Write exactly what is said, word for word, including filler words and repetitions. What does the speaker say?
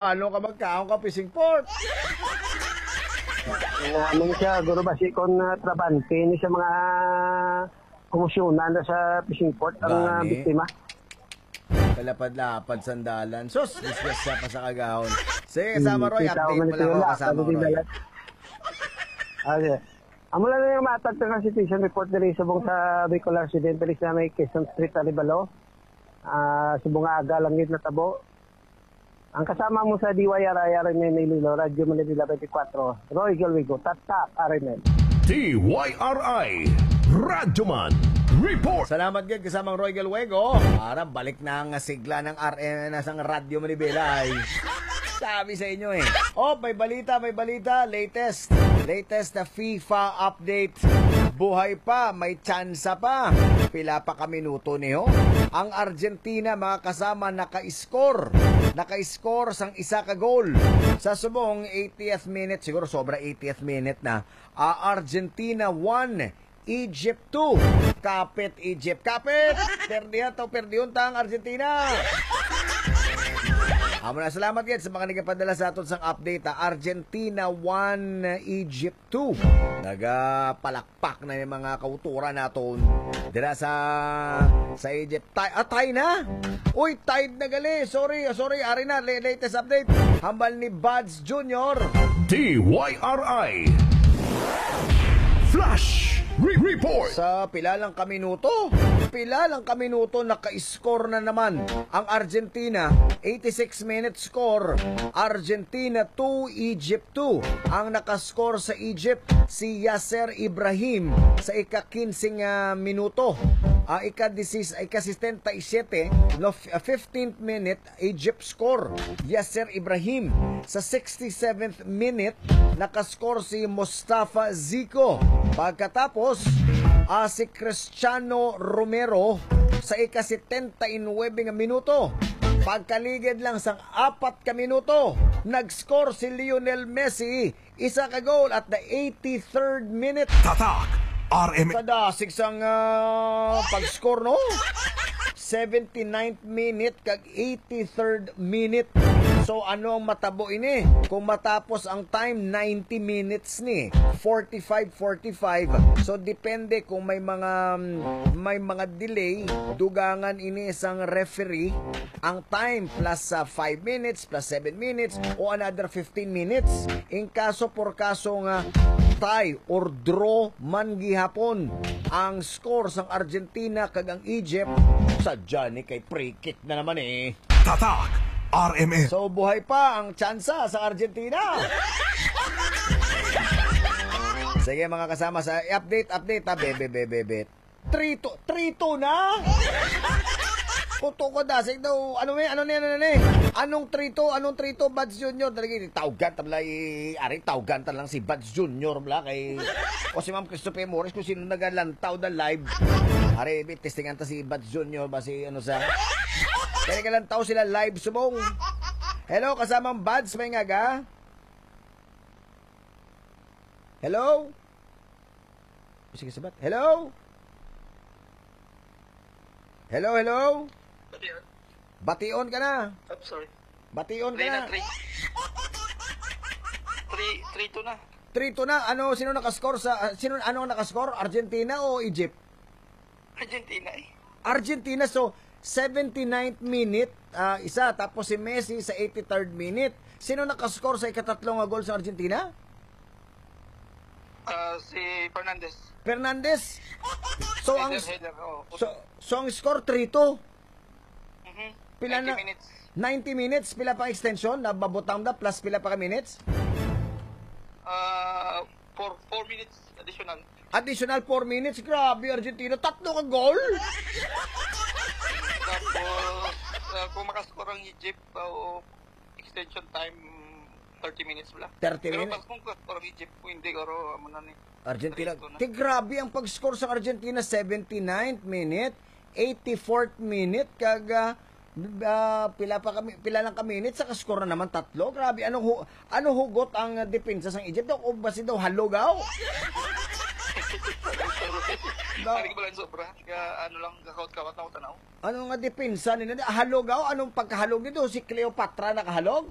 Ano ka magkaon ka fishing port? Ano siya, guro, basi kon, ah, trabante ni sa mga kumusyonan na sa fishing port ang, ah, Gani. biktima. Kalapad-lapad sandalan. Sus, disgrasya pa sa kagahon. Sige, kasama Hmm, Roy, kita ko update man mo lang ito ako, wala, kasama sabi din Roy. nila. Okay. Amo lang yung matag sa situation report diri subong sa Bicolar Occidental sa may Quezon Street, Arevalo. Ah, subong nga aga lang yun natabo. Ang kasama mo sa D Y R I R M N Iloilo, Radyo Manila twenty-four, Roy Galwego, Tatak, R M N. D Y R I, Radyoman Report. Salamat gid, kasamang Roy Galwego. Para balik na ang sigla ng R M N sang Radyo Manibela, ay. Sabi sa inyo, eh. Oh, may balita, may balita. Latest. Latest na FIFA update. Buhay pa, may tsansa pa. Pila pa ka minuto niyo? Ang Argentina, mga kasama, naka-score. Naka-score sang isa ka goal. Sa subong, eightieth minute, siguro sobra eightieth minute na. Ah, Argentina one, Egypt two. Kapit, Egypt. Kapit! Perdihan to, perdihon ta ang Argentina. Amo na, salamat gid sa mga nagapadala sa aton sang update, ha. Argentina one, Egypt two. Nagapalakpak na yung mga kauturan naton dira sa, sa Egypt. Tie, ah, tie na? Uy, tied na gali. Sorry, sorry, ari na. La-, latest update. Hambal ni Buds Junior. D Y R I Flash Re-, Report. Sa pila lang ka minuto, pila lang ka minuto, naka-score na naman ang Argentina. Eighty-six minute score, Argentina two, Egypt two. Ang nakascore sa Egypt, si Yasser Ibrahim sa ika-quince nga minuto. Ah, ika-disis-, ika-sesenta y siete, no, f-, ah, fifteenth minute, Egypt score, Yasser Ibrahim. Sa sixty-seventh minute, nakascore si Mustafa Zico. Pagkatapos, ah, si Cristiano Romero sa ika-setenta y nuebe nga minuto. Pagkaligid lang sang apat ka minuto, nag-score si Lionel Messi, isa ka goal at the eighty-third minute. Tatak R M N. Kadasig sang, ah, pag-score, no? Seventy-ninth minute kag eighty-third minute. So, ano ang matabo ini? Kung matapos ang time, ninety minutes ni. Forty-five, forty-five. So, depende kung may mga, may mga delay, dugangan ini sang referee. Ang time plus, ah, five minutes, plus seven minutes, o another fifteen minutes. In kaso por kaso nga tie or draw man gihapon ang score sang Argentina kag ang Egypt, sadya ni kay free kick na naman, eh. Tatak R M N. So, buhay pa ang tsansa sa Argentina. Sige, mga kasama, sa update, update, ha, bebe, bebe, bebe. Three two, three two na? Kuto ko dasig daw. Ano ni? Ano ni? Ano ni? Anong three two? Anong three two, Buds Junior? Dali, tawgan ta bala, i-, ari, tawgan ta lang si Buds Junior bala kay, o si Ma'am Christopher Morris kung sino nagalantaw na live. Ari, bi-, testingan ta si Buds Junior ba si ano sa. Kaya nagalantaw sila live, subong. Hello, kasamang Buds, may ngaga? Hello? Sige, sabat. Hello? Hello, hello? Bation. Bation ka na. I'm sorry. Bation ka Three na. na, three. Three, three two na. Three two na. Ano, sino nakascore sa, ah, sino, ano ang nakascore? Argentina o Egypt? Argentina, eh. Argentina, so, seventy-ninth minute, ah, isa, tapos si Messi sa eighty-third minute. Sino nakascore sa ikatatlo nga goal sa Argentina? Ah, si Fernandez. Fernandez? So, ang, Header, header, oo. so, so, ang score three two. Mhm. Pila Ninety na? minutes. Ninety minutes, pila pa extension? Nababutang na, plus pila pa ka minutes? Ah, four, four minutes additional. Additional four minutes, grabe, Argentina, tatlo ka goal! Tapos, ah, kung makascore ang Egypt, ah, o extension time, thirty minutes wala. Thirty Pero minutes? Pas kung makascore ang Egypt, kung hindi, oro, amo na ni. Argentina. Three two na. Ti, grabe ang pag-score sa Argentina, seventy-ninth minute, eighty-fourth minute, kag, ah, ah, pila pa kami, pila lang ka minutes, sa score na naman tatlo. Grabe, anong hu-, ano hugot ang, ah, depensa sang Egypt? O ba si daw halugaw? No. Ari ka ba lang sobra? Kaya ano lang, kakawat-kawat na ako tanaw. Ano nga depensa nila? Halog ako? Anong pagkahalog nito? Si Cleopatra nakahalog?